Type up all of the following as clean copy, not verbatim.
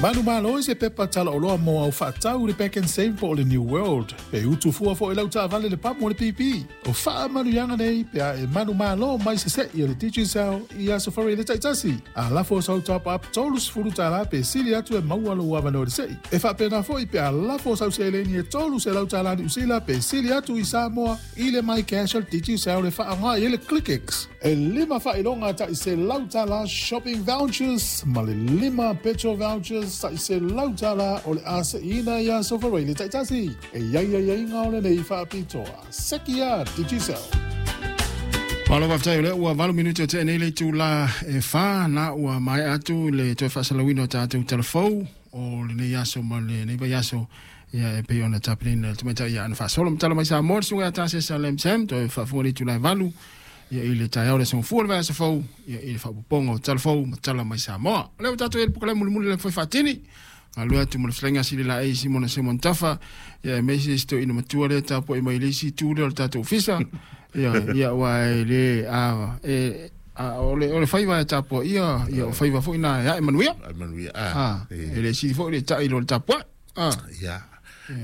Manumalo i se pepa talaoloa mo au faatau i le Pak'nSave po o le New World. E utu fua foi lau taavale le pamu o le pipi. O faamanuiaga nei pe a e manumalo mai se se'i o le Digicel i Aso Faraile taitasi. A lafo sau top up $30 pe sili atu e maua lou avanoa i le se'i. E faapena foi pe a lafo sau seleni e $300 Niu Sila pe sili atu i Samoa i le MyCash a le Digicel e faaaoga i ai le ClickX. E lima faailoga tai $100 shopping vouchers ma le lima petrol vouchers tai $100 o le a se'iina i Aso Faraile taitasi. E i ai aiaiga o lenei faapitoa. Seki a Digicel. Malo faafetai o lea ua 8 minute o tea nei le itula e 4 na ua maea atu le toe faasalauina o tatou talafou o lenei aso ma lenei vaiaso ia e pei ona tapenaina e le tamaitai ia Ana Faasolo matala mai Samoa le susuga ia Tasesa Lam Sam toe faafofoga i le itula e 8 ia i le taeao le aso Gafua le vaiaso fou ia i le faaopoopoga o talafou ma tala mai Samoa. O lea ua tatou i ai i le polokalame mulimuli le foe faatini galue atu ma le fetalaiga a Sililaei Simona Simon Tafa ia aemaise si toeaina matua lea tapuai mai i le isi itu lea o le tatou ofisa ia ia aua e le a e a o le o le faiva e tapuaia ia o faiva foi na e ae manuia. Ae manuia a. E le sili foi le ta'i i lo le tapuai. A. Ia.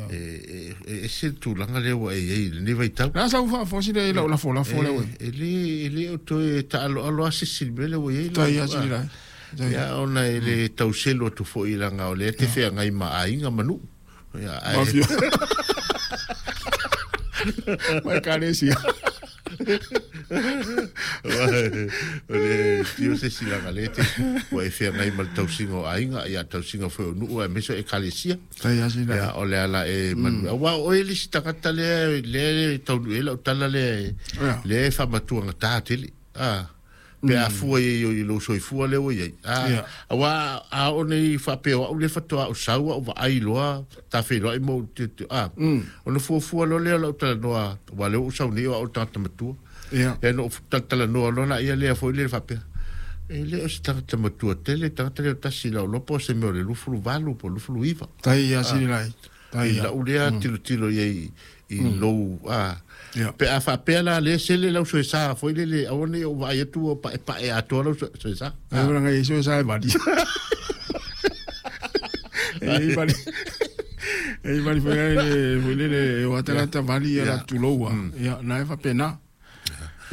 E ese le tulaga lea ua e i ai i lenei vaitau. O le a sau faafosi lea i lau lafolafo lea ua i. E le, e le o toe taaloalo lava se isi i le mea lea ua i ai. Tai lava sili lai. Ia, ona e le tau selu atu foi leaga o lea e te feagai ma aiga ma nuu. Ia, ae. Mafia. Ma ekalesia. O le tio se isi leaga o lea e te, ua e feagai ma le tausiga o aiga, ia, tausiga foi o nuu aemaise o ekalesia. Ia, o le ala e manu. Aua o oe le isi tagata lea, lea e taunuu i ai lau tala lea, lea e faamatuagata tele. A, pe a fua i ai i lou soifua lea ua i ai. A, aua a oo nei faapea o au lea faatoa ou sau au vaai loa, ta feiloai ma ou tilotilo, a, ona fuafua loa lea o lau talanoa, aua lea ua ou sau nei o au o le tagata matua. Ia. Ia na ou talatalanoa loa laia lea foi lea faapea, e le o se tagata matua tele, tagata lea o tasi lau loa po o se mea o le 28 po o le 29. Tai ia sili lai. Tai ia. I lau lea tilotilo i ai i lou, a, pe a faapea la lea sele lau soesa foi lele, aua ne i ou vaai atu ua paepae atoa lau soesa. Ai ua ngai soesa e vali. E vali. E vali foi le foi lele o tagata vali ia la tuloua. Ia na e faapena.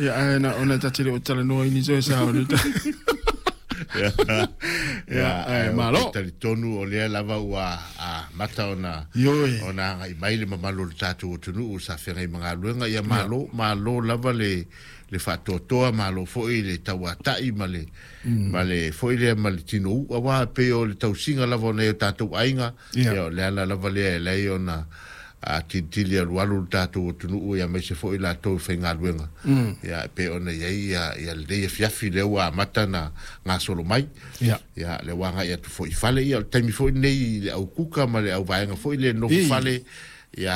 Ia ae na ona ta te le o talanoa i ni soesa o le Ia, ae malo. Talitonu o lea lava ua amata ona Ioe. ona agai mai le mamalu o le tatou atunuu sa feagai ma galuega. Ia malo, malo lava le le faatoatoa, malo foi le tauatai ma le ma le foi lea ma le tinou, aua e pei o le tausiga lava o nai o tatou aiga. Ia, o le ala lava lea e leai ona tilitili alualu le tatou atunuu ia aemaise foi latou e faigaluega. Ia, e pei ona i ai ia, ia lenei afiafi lea ua amata ona gasolo mai. Ia. Ia, lea ua agai atu foi i fale. Ia, o le taimi foi lenei i le au kuka ma le au vaega foi lea nofo fale.